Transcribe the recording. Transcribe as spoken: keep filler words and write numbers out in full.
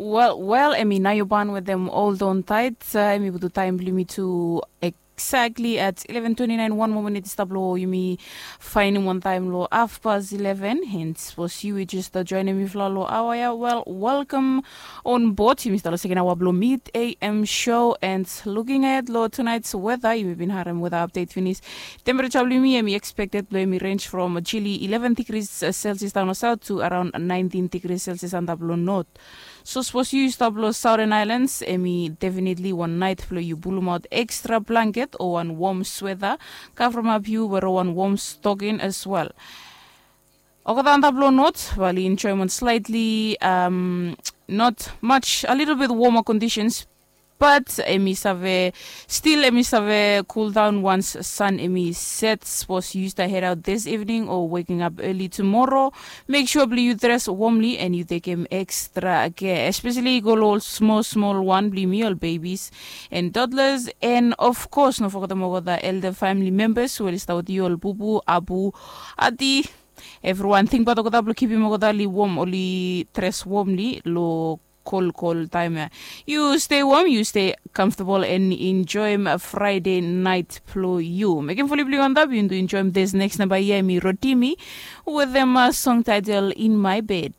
Wel, wel, emi nao yu ban wetem Hold On Tight. Uh, emi butu taem blong yumi tu exactly at eleven twenty-nine. Wan moa minit i stap long yumi faenem wan taem long hafpas eleven. And sapos yu i jes joenem mifala long aoa ya, wel, welcome on board. Yumi stap long seken aoa blong Mid A M show. And looking ahead long tonight's weather, yumi bin harem weather update finis. Temperature blong yumi emi expected blong yumi range from chili eleven degrees Celsius daon long south to around nineteen degrees Celsius antap long north. So sapos yu stap long Southern Islands, emi definitely wan night blong yu pulumaot extra blanket o wan warm sweater, cover up yu wetem wan warm stocking as well. Olgeta antap long north bae oli enjoem wan slightly, um, not much, a little bit warmer conditions, but emi save, still emi save cool down once sun emi set. Sapos yu stap head out this evening or waking up early tomorrow, make sure blong yu dress warmly and yu tekem extra care, especially yu go long ol smol smol wan blong yumi, ol babies and toddlers, and of course no fogetem olgeta elder family members we oli stap wetem yu, ol bubu, abu, ati, evriwan. Tingbaot olgeta blong kipim olgeta oli warm, oli dress warmly long kolkol taem ya. Yu stay warm, yu stay comfortable and enjoem Friday night blong yu. Mekem foli blong yu antap, yu tu enjoem this next number ya, emi Rotimi wetem song title In My Bed.